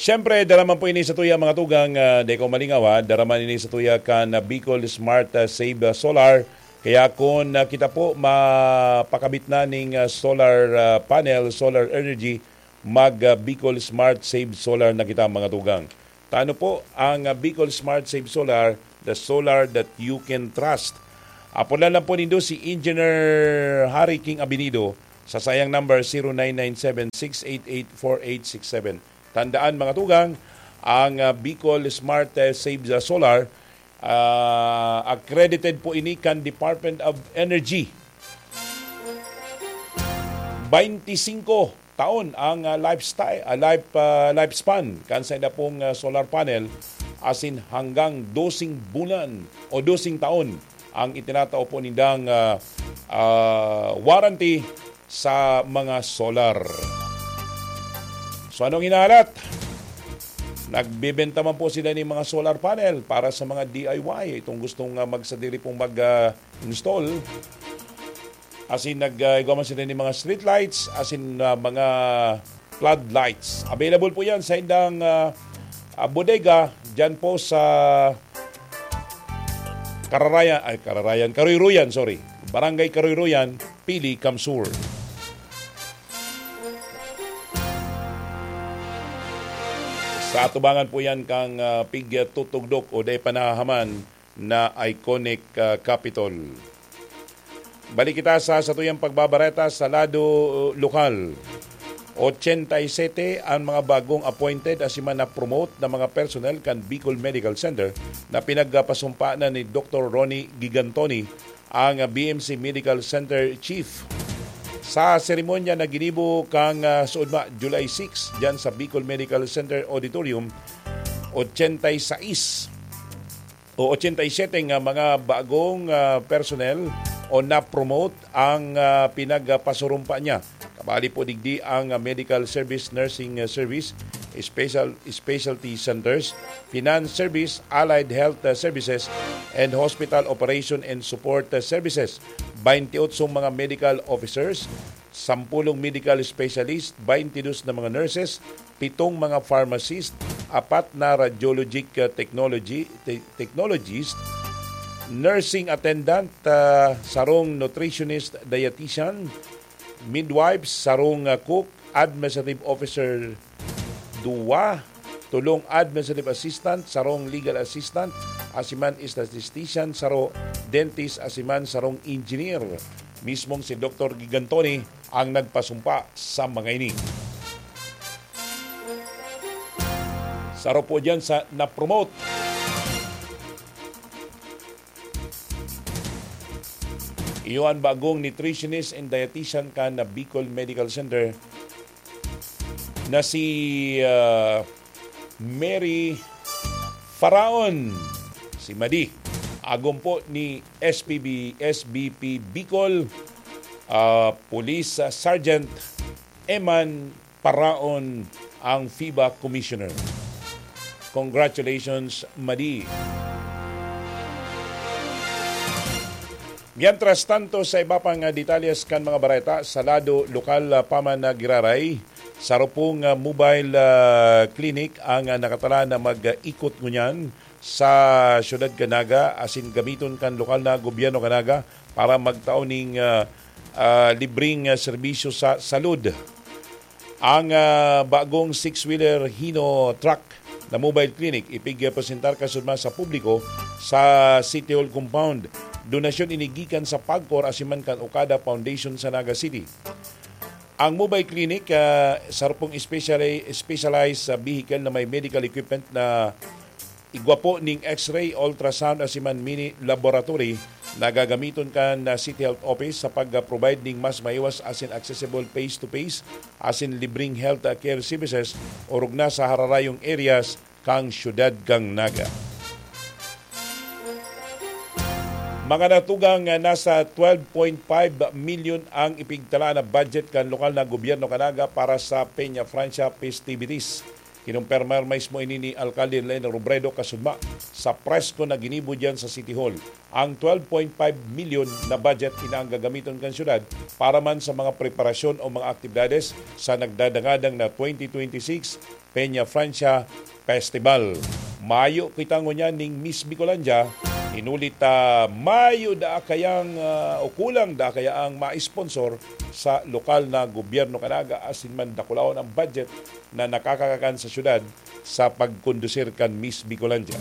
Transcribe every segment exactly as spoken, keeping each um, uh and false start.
Siyempre, dara man po ini sa tuya, mga tugang, ah, di ko malingaw, ha? Dara man ini sa tuya kan, ah, Bicol Smart, ah, Save, ah, Solar. Kaya kung, ah, kita po mapakabit na ning, ah, solar, ah, panel, solar energy, mag, ah, Bicol Smart Save Solar na kita, mga tugang. Tano po ang, ah, Bicol Smart Save Solar, the solar that you can trust. Apodan lang po nindo si Engineer Harry King Abinido sa sayang number, zero nine nine seven six eight eight four eight six seven. Tandaan, mga tugang, ang, ah, Bicol Smart, eh, Saves, ah, Solar, ah, accredited po ini kan Department of Energy. Bainti singko taon ang, ah, lifestyle, ah, life, ah, lifespan kan sainda pong, ah, solar panel, asin hanggang dosing bulan o dosing taon ang itinatao po nindang, ah, ah, warranty sa mga solar. So, anong hinahalat? Nagbebenta man po sila ng mga solar panel para sa mga D I Y. Itong gustong, ah, magsadiri pong mag, ah, install. Asin nag, ah, igwa man sila ng mga street lights, asin, ah, mga floodlights. Available po yan sa indang, ah, ah, bodega dyan po sa Kararayan, ay, Kararayan, Karuy-ruyan, sorry. Barangay Karuy-ruyan, Pili, Kamsur. Sa atubangan po yan kang, ah, pigtutugdok o dai panahaman na iconic, ah, Capitol. Balik kita sa satuyang pagbabareta sa lado lokal. Ochenta y sete ang mga bagong appointed asin man na-promote na mga personnel kan Bicol Medical Center na pinagpasumpa na ni Doktor Ronnie Gigantoni, ang B M C Medical Center Chief. Sa seremonya na ginibo kang, ah, suodma, July six, dyan sa Bicol Medical Center Auditorium, ochenta y seis o ochenta y siete nga mga bagong, ah, personnel o na-promote ang, ah, pinagpasurumpa niya. Kabali po digdi ang, ah, medical service, nursing, ah, service, special, specialty centers, finance service, allied health, ah, services, and hospital operation and support, ah, services. Bainti otsong mga medical officers, sampulong medical specialist, bainti dos na mga nurses, pitong mga pharmacist, apat na radiologic, ah, technology, te-, technologist, nursing attendant, ah, sarong nutritionist, dietitian, midwives, sarong, ah, cook, administrative officer, duwa, tolong administrative assistant, sarong legal assistant, asin man statistician, saro dentist, asin man sarong engineer. Mismong si Doktor Gigantoni ang nagpasumpa sa mga ini. Saro po diyan sa na-promote. Iyo an bagong nutritionist and dietitian kan Bicol Medical Center na si, ah, Mary Faraon, si Madi. Agom po ni S P B, S B P Bicol, ah, Police, ah, Sergeant Eman Paraon, ang FIBA Commissioner. Congratulations, Madi. Mientras tanto, sa iba pang, ah, detalyes kan mga bareta, sa lado lokal, ah, pa man na giraray, saro pong, ah, mobile, ah, clinic ang, ah, nakatalaan na mag-ikot ngunyan sa siyudad kan Naga, asin gamiton kan lokal na gobyerno kan Naga para magtao ning, ah, ah, libreng, ah, serbisyo sa salud. Ang, ah, bagong six-wheeler Hino truck na mobile clinic ipigpresentar kasuodma sa publiko sa City Hall compound. Donasyon ini gikan sa PAGCOR asin man kan Okada Foundation sa Naga City. Ang mobile clinic, ah, saro pong speciali-, specialized sa vehicle na may medical equipment na igwa po ning X-ray, ultrasound asin man mini laboratory na gagamiton kan, ah, City Health Office sa pag-provide ning mas maiwas asin accessible face-to-face asin libreng health, ah, care services orog na sa hararayong areas kan siyudad kan Naga. Mga natugang, ah, nasa twelve point five milyon ang ipigtala na budget kan lokal na gobyerno kan Naga para sa Peña Francia festivities. Kinumpirmar mismo ini ni Alkalde Leni Robredo kasudma sa press con na ginibo diyan sa City Hall. Ang twelve point five milyon na budget ina ang gagamiton kan syudad para man sa mga preparasyon o mga aktibidades sa nagdadangadang na twenty twenty-six Peña Francia Festival. Mayo kita ngunyan ning Miss Bicolandia, inulit ta mayo da kayang, ah, o kulang da kaya ang ma-sponsor sa lokal na gobyerno kanaga asin man dakulahon ang budget na nakakakakan sa syudad sa pagkondusir kan Miss Bicolandia.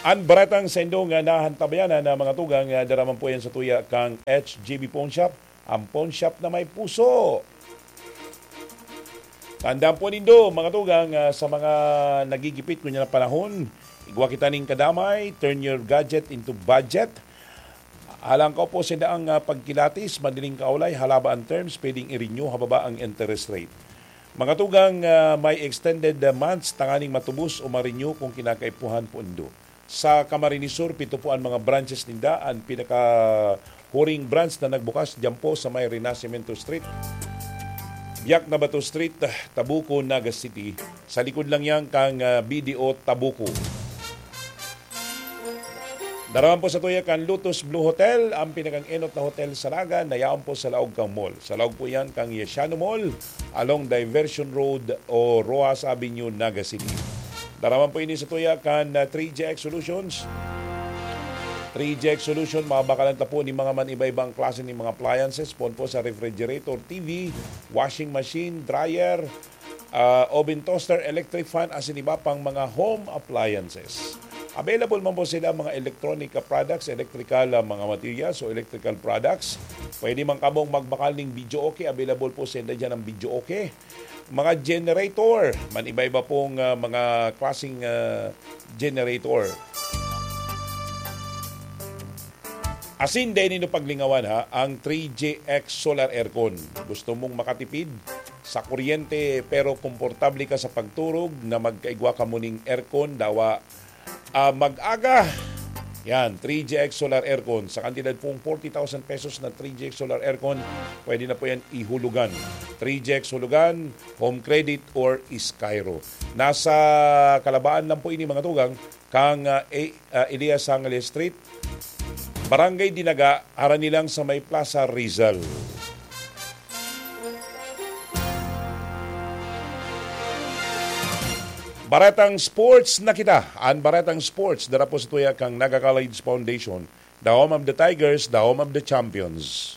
An baretang saindo nga nahantabayanan na mga tugang, ah, daraman po yan sa tuya kang H G B Pawn Shop, ang pawn shop na may puso. Tandaan po nindo, mga tugang, ah, sa mga nagigipit kunya na panahon, igwa kita ning kadamay, turn your gadget into budget. Alang ko po sinda ang, ah, pagkilatis, madaling kaulay, halaba ang terms, pwedeng i-renew hababa ang interest rate. Mga tugang, ah, may extended, ah, months tanganing matubos o ma-renew kung kinakaipuhan po nindo. Sa Camarines Sur, pito po ang mga branches ninda. Ang pinakahuring branch na nagbukas diyan po sa may Renacimiento Street, Biak na Bato Street, Tabuco, Naga City. Sa likod lang yan kang, ah, B D O Tabuco. Daraman po sa tuya kan Lotus Blue Hotel, ang pinakang enot na hotel sa Naga, na yaon po sa laog kang mall. Sa laog po yan kang Yesiano Mall, along Diversion Road o Roxas Avenue, Naga City. Daraman po ini sa tuya kan, ah, three G X Solutions. Three G X Solution, mabakalan ta po ni mga man iba-ibang klase ni mga appliances, pon po sa refrigerator, T V, washing machine, dryer, ah, oven toaster, electric fan, asin iba pang mga home appliances. Available man po sila mga electronic, ah, products, electrical, ah, mga materials o electrical products. Pwede man kamong magbakal ning video okay. Available po sila dyan ang video okay. Mga generator, man iba-iba pong, ah, mga klaseng, ah, generator. Asin dai nindo paglingawan, ha, ang three G X Solar Aircon. Gusto mong makatipid sa kuryente pero komportable ka sa pagturog na magkaigwa ka muning aircon, dawa, ah, mag-aga. Yan, three G X Solar Aircon. Sa kantidad pong forty thousand pesos na three G X Solar Aircon, pwede na po yan ihulugan. Three G X Hulugan, Home Credit or Skyro. Nasa Kalabaan lang po ini, mga tugang, kang, ah, A-, ah, Elias Sangale Street, Barangay Dinaga, harani lang sa may Plaza Rizal. Baretang Sports na kita. An Baretang Sports, dara po sa tuya kang Naga College Foundation, the home of the Tigers, the home of the champions.